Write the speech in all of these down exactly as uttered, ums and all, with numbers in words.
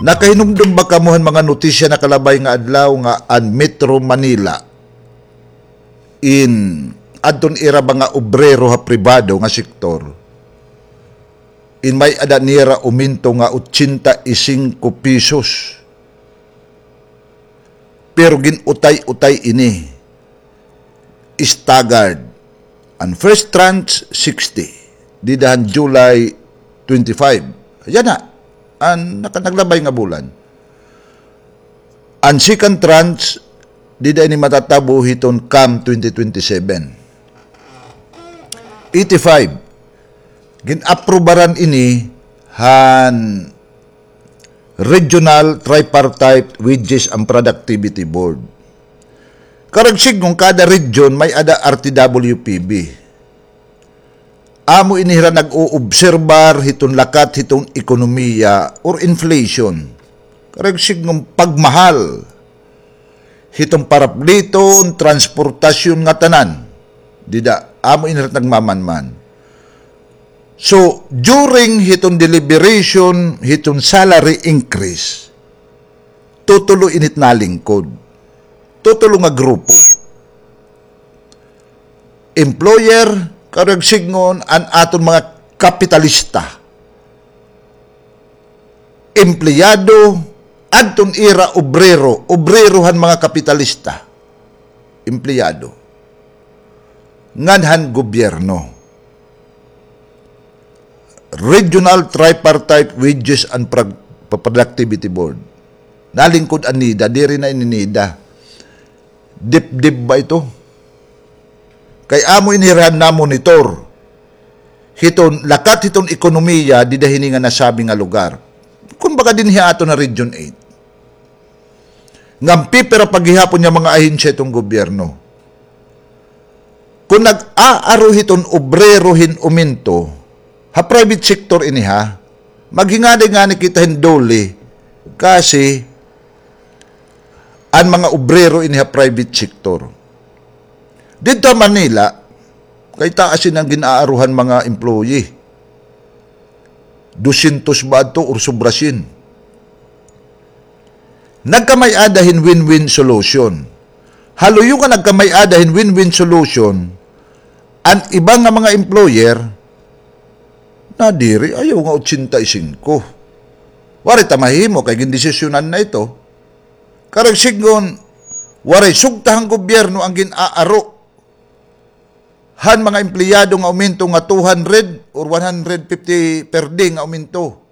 Nakahinumdom ba kamo han mga notisya nakalabay nga adlaw nga an Metro Manila in adton ira ba nga obrero ha pribado nga sektor, in may-ada nira umento nga ochenta y singko pesos. Pero gin-utay-utay ini. Staggered. An first tranche, sixty. Dida han July twenty-five. Yana. An naka-, naglabay nga bulan. An second tranche, dida ini matatabo hiton CAM twenty twenty-seven. Eighty-five. Gin-aprubaran ini han Regional Tripartite Wages and Productivity Board. Karuyag sidngon, kada region may-ada R T W P B. Amo ini hira nag-oobserbar hiton lakat hiton ekonomiya or inflation. Karuyag sidngon, pagmahal hiton parapliton, transportasyon nga tanan. Dida, amo ini hira nagmamanman. So, during hiton deliberation, hiton salary increase, tutulo ini it nalingkod. Tutulo nga grupo. Employer, karuyag sidngon, an aton mga kapitalista. Empleyado, adton ira obrero, obrero han mga kapitalista. Empleyado. Ngan han gobyerno. Regional Tripartite Wages and Prog-, Productivity Board. Nalingkod an NEDA, diri na ini NEDA. DepDep ba ito? Kay amo ini hira namonitor hiton lakat hiton ekonomiya dida hini nga nasabi nga lugar. Kumbaga dinhi ha aton nga Region eight. Ngan pipira pa gihapon nga mga ahensya hiton gobyerno. Kon nag-aaro hiton obrero hin umento, ha private sector ini ha, maghinganay ngani kita hin DOLE, kasi an mga obrero ini ha private sector. Didto ha Manila, kay taas ini an gin-aaruhan mga employee. Dosyentos ba adto or sobra syen? Nagkamay-ada hin win-win solution. Ha luyo nga nagkamay-ada hin win-win solution, an iba nga mga employer, nadiri, ayaw nga ochenta y singko. Waray ta mahimo kay gindesisyonan na ito. Karuyag sidngon, waray sugta han gobyerno an gin-aaro han mga empleyado nga aumento nga two hundred or one hundred fifty per day nga aumento.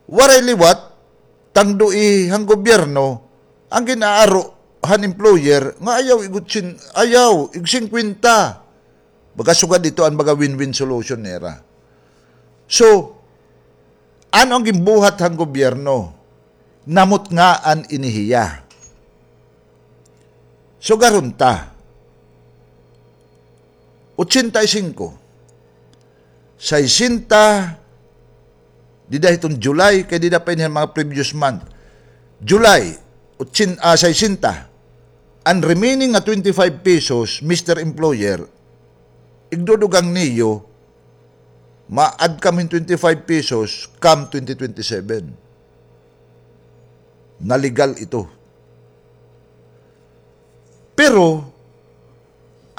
Waray liwat, tangdui han gobyerno an gin-aaro han employer nga ayaw ig otsen-, ayaw ig singkwenta. Baga sugad ito an baga win-win solution nira. So, ano an ginbuhat han gobyerno? Namutngaan ini hiya. Sugaron ta. Ochenta y singko. Saysenta, dida hiton July, kay dida pa ini han mga previous month. July, otsen-, ah, saysenta. An remaining nga twenty-five pesos, Mister Employer, igdudugang niyo, ma-add kam hin twenty-five pesos, come twenty twenty-seven. Na legal ito. Pero,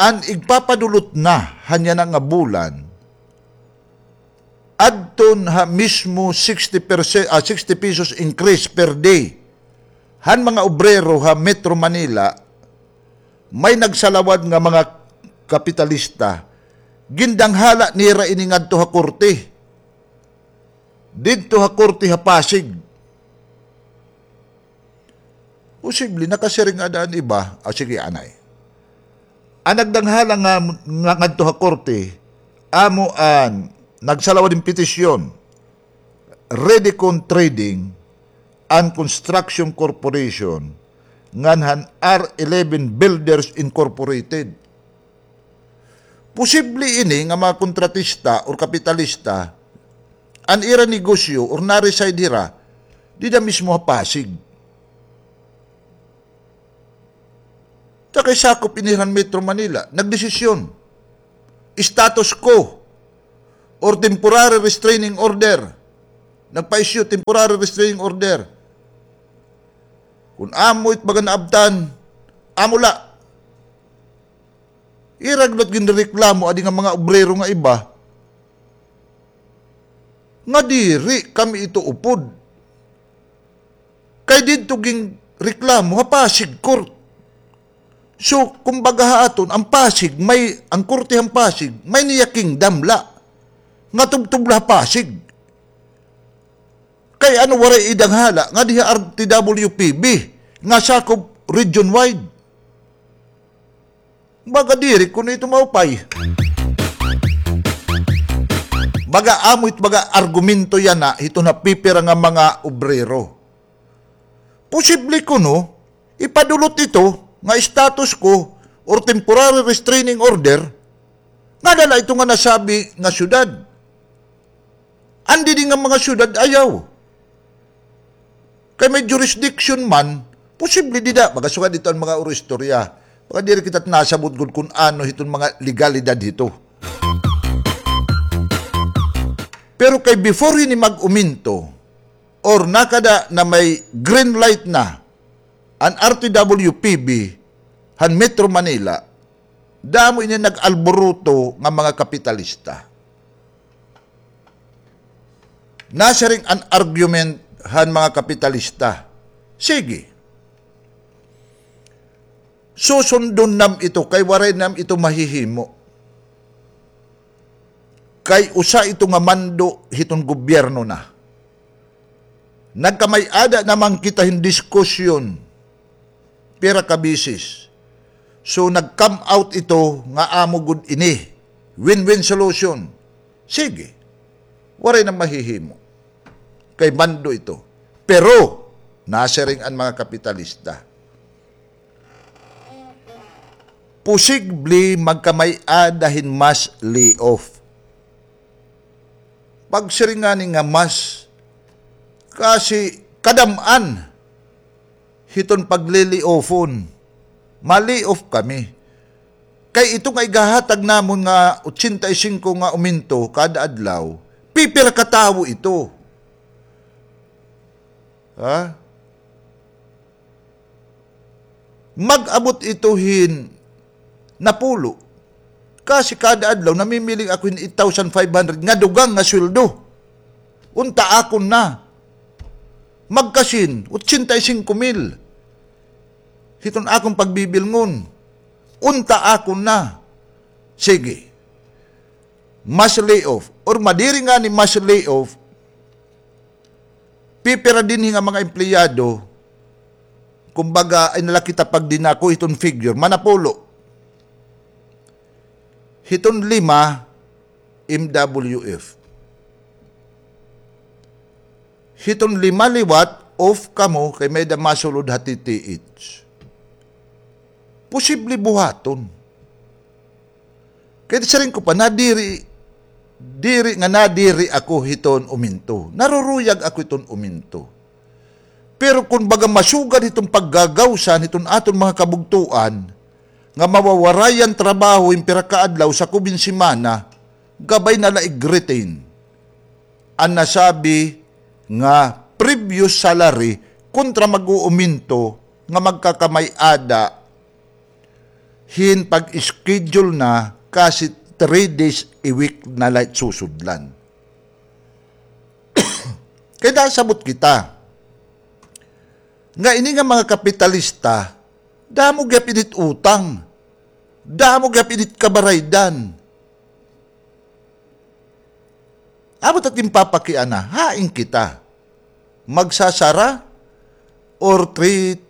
an igpapadulot na han yana nga bulan, adton ha mismo sixty percent, ah, sixty pesos increase per day han mga obrero ha Metro Manila, may nagsalawad nga mga kapitalista, gindanghala nira ini ngadto ha korte. Didto ha korte ha Pasig. Posible, nakasiring ada an iba. Ah, sige, anay. An nagdanghala nga, nga ngadto ha korte, amo an nagsalawad hin petisyon, Redecon Trading and Construction Corporation, ngan han R eleven Builders Incorporated. Posible ini nga mga kontratista or kapitalista, an ira negosyo or na-reside hira dida mismo ha Pasig. Ta kay sakop ini han Metro Manila, nagdesisyon. Status quo or temporary restraining order. nagpa-issue temporary restraining order. Kon amo it baga naabtan, amo la. Ira gud ginrereklamo adi nga mga obrero nga iba nga diri kami ito upod. Kay didto ginreklamo ha Pasig Court. So, kumbaga ha aton, ang Pasig, may, ang korte han Pasig, may niya kingdom la. Nga tubtob la ha Pasig. Kay ano waray idanghala nga diha R T W P B nga sakob region wide? Baga diri kuno ito maupay. Baga amo it baga argumento yana hiton ha pipira nga mga obrero. Posible kuno ipadulot ito nga status quo or temporary restraining order nga dala ito nga nasabi nga syudad. An didi nga mga syudad ayaw. Kay may jurisdiction man, posible dida, baga sugad ito an mga uro istorya. Baga diri kita nasabot gud kun ano hiton mga legalidad hito. Pero kay before hini mag-uminto, or nakada na may green light na an R T W P B han Metro Manila, damo ini nag-alboroto nga mga kapitalista. Nasiring an argument han mga kapitalista. Sige. Susundon nam ito kay waray nam ito mahihimo. Kay usa ito nga mando hiton gobyerno na. Nagkamay-ada naman kita hin diskusyon pira ka beses. So, nag-come out ito nga amo gud ini. Win-win solution. Sige. Waray na mahihimo. Kay mando ito. Pero, nasiring an mga kapitalista, posible magkamay-ada hin mass layoff. Pagsiring ngani nga mass, kasi kadam-an hiton pag-layoff-on. Ma-layoff kami. Kay ito nga igahatag namon nga ochenta y cinco nga aumento kada adlaw, pipira ka tawo ito? Ha? Mag-abot ito hin napulo. Kasi kada adlaw, namimiling ako hin eight thousand five hundred nga dugang nga sweldo. Unta akon na. Magkasin, ochenta y cinco mil. Hiton akon pagbibilngon. Unta akon na. Sige. Mass layoff. Or madiri ngani mass layoff, pipira dinhi nga mga empleyado, kumbaga, ay nala kita pagdinako hiton figure, manapulo. Hiton lima, M W F. Hiton lima liwat, off kamo, kay may-ada masulod ha T T H. Posible buhaton. Kay siring ko pa, nadiri, diri nga nadiri ako hiton uminto. Naruruyag ako hiton uminto. Pero kon baga masugad hiton paggagawsan hiton aton mga kabugtoan, nga mawawarayan trabaho hin pira ka adlaw sakob hin semana, gabay na la i-retain an nasabi nga previous salary kontra mag-uuminto nga magkakamay-ada hin pag-schedule na kasi three days a week na la it susudlan. Kay nasabot kita nga ini nga mga kapitalista, damo gihap ini it utang, damo gihap ini it kabaraydan. Amo ta it ginpapakiana, hain kita? Magsasara or three,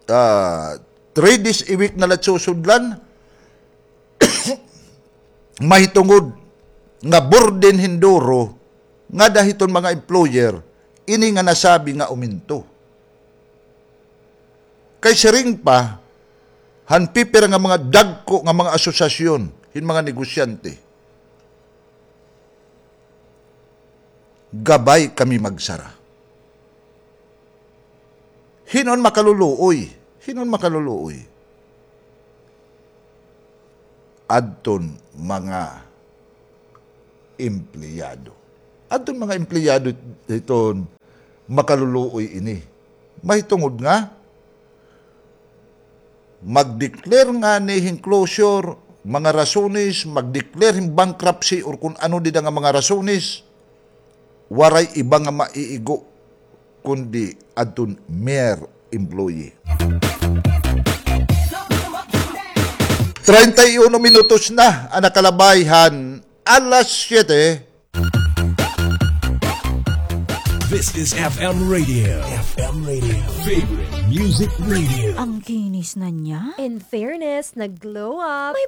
ah, three days a week na la it susudlan? Mahitungod nga burden hin duro ngada hiton mga employer ini nga nasabi nga uminto. Kay siring pa han pipira nga mga dagko nga mga asosasyon hin mga negosyante, gabay kami magsara. Hin-o an makaluluoy? Hin-o an makaluluoy? Adton mga empleyado. Adton mga empleyado hiton makaluluoy ini. Mahitungod nga mag-declare ngani hin closure, mga rasones, mag-declare hin bankruptcy or kun ano dida nga mga rasones, waray iba nga maiigo kundi adton mere employee. Treinta y uno minutos na an nakalabay han alas siyete. This is F M Radio. F M Radio. Favorite Music Radio. Ang kinis na niya. In fairness, nag-glow up. May